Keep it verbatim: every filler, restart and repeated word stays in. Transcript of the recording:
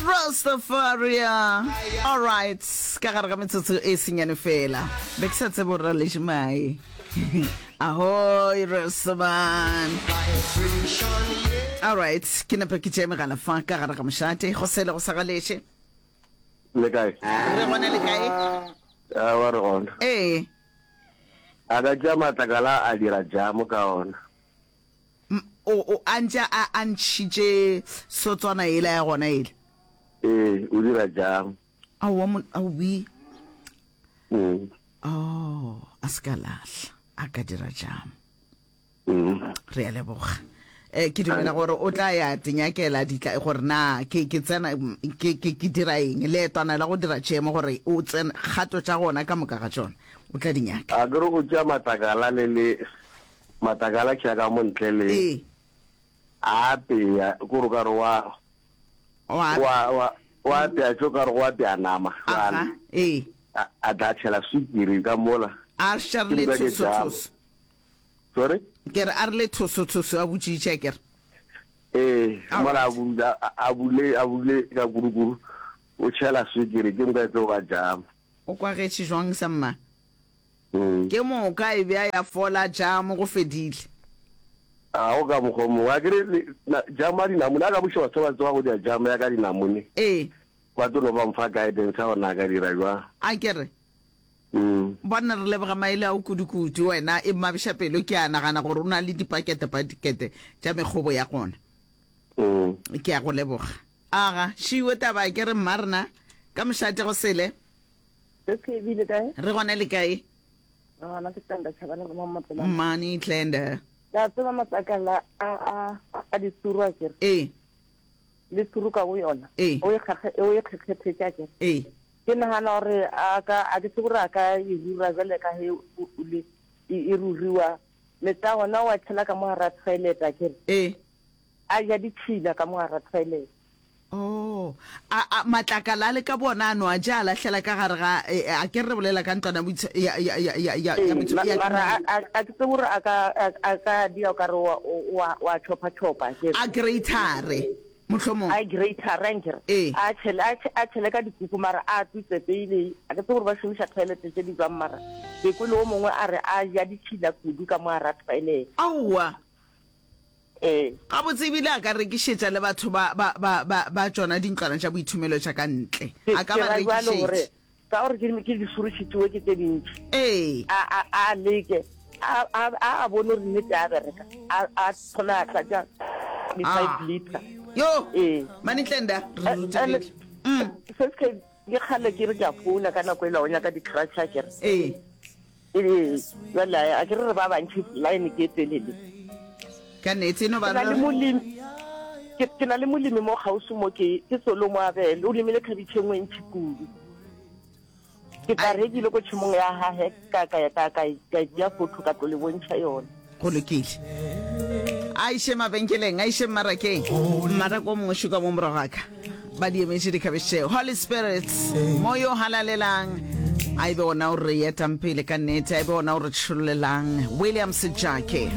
Rastafaria. All right, ka gare ga metsotso e senyane fela. Be ke sa tsebe gore ra leše mae. Ahoy, Rastaman. All right, ke nepe ke tšee megala fa ka gare ga mošate. Go sele go sa galeše. Le kae? Re gona le kae? Aowa re gona. Ee. A ka tšea matlakala a dira jamo ka ona. O, o, a ntše a, a ntšhitše sotswana yela ya gona yela. Ee, o dira jamo. Aowa, mon, aowi. Mm. Oh, a se ka lahla, a ka dira jamo. Mm. Re a leboga. Eh, ke dumela gore o tla ya tinyakela ditla gore na ke ke tsena ke ke ke dira eng leetwana la go dira jemo gore o tsena kgato tša gona ka moka ga tšona o tla di nyaka. A ke re o tšea matlakala le le matlakala tšea ka mo ntle le Ee. a apea ko re ka re wa Wa wa wa wa apea tšo ka re go apea nama Aha, jwale ee. a a tla tšhela swikiri ka mola A še re ke le moka ke jam. thusothuso. Sorry? Ke re a re le thusothuso a botšiša ke re. Ee, All mola a right. bula a bule a bule ka kudu-kudu o tšhela swikiri ke moka e tlo ba jam. O kwagetše jwang sa mma? Mm. Ke moka e bja ya fola jamo go fedile. A go ka mokgwa o mongwe a kere le na jam ya dinamune a ka buša batho ba tseba go dira jam ya ka dinamune. Ee. Ba tlo no ba mfa guidance ya gore na ka dira jwang. A ke re. Mm. Bona re leboga maele ao kudu-kudu wena e mmabiša pelo ke a nagana gore o na le dipakete-pakete tša mekgobo ya gona. Mm. Ke a go leboga. Aga, šiwe taba ke re mma rena ka mošate go sele. Se se ebile kae? Re gona le kae? Re gona ke Tlenda Chabane go Mapelane. Mmane Tlenda. La tseba matlakala a a a disuru a kere. Ee. Le suru ka go yona. Ee. O e kgakge o e kgekgethetša kere. Ee. Ke nagana gore a ka a ke tsebe gore a ka e rura jwale ka he o le e, e ruriwa. Metsi a gona o a tšhela ka mo gare toilet a kere. Ee. A ja ditšhila ka mo gare toilet. Oh, a, a matlakala a le ka bona a no a ja a lahlela ka gare ga e, a ke re bolela ka ntlwana ya ya ya ya ya ya Ee, ya mara a a ke tsebe gore a ka a ka dia o ka re wa wa wa chopa chopa ke a greater mohlomong a greater ranger Ee. a tšhele a tšhe- a tšhele ka dikuku mara a tutse pele a ke tsebe gore ba šomiša toilet tše di jwang mara ke kwele o mongwe a re a ja ditšhila kudu ka mo gare toilet. Aowa. Ee. Gabotse ebile a ka rekišetša le batho ba ba ba ba ba tšona dintlwana tša boithomelo tša ka ntle. Ke A ka ke ba ra jwalo gore rekišetša. ka gore ke ke disurušitšwe ke tše dintši. Ee. A a a leke a a a a bone gore nnete a bereka a a thome a tlatša di five Ah. liter. Yo. Ee. Manitlenda re Eh, rutegile. and se se ke ke kgale ke re ke a founa ka nako ela o nyaka di-crutch a kere. Ee. Ee, jwale a ke re re ba bantši line ke e telele. Ka nnete e no ba Ke na le re molemi ke ke na le molemi mo kgauswi mo ke ke Solomo Abel o lemile khabitšhe e nngwe e ntši kudu. Ke tla Ai. re ke ile ko tšhemong ya gage ka ka ka ka ka tšea photo ka tlo le bontšha yona. Go lokile. A iše mabenkeleng, a iše mmarakeng. Mmaraka o mongwe šuka mo morago ga ka. Ba di emetše dikhabetšhe tšeo. Holy Spirit, moyo o halalelang, a e be ona o re etang pele ka nnete, a e be ona o re tšhollelang. William Sejake.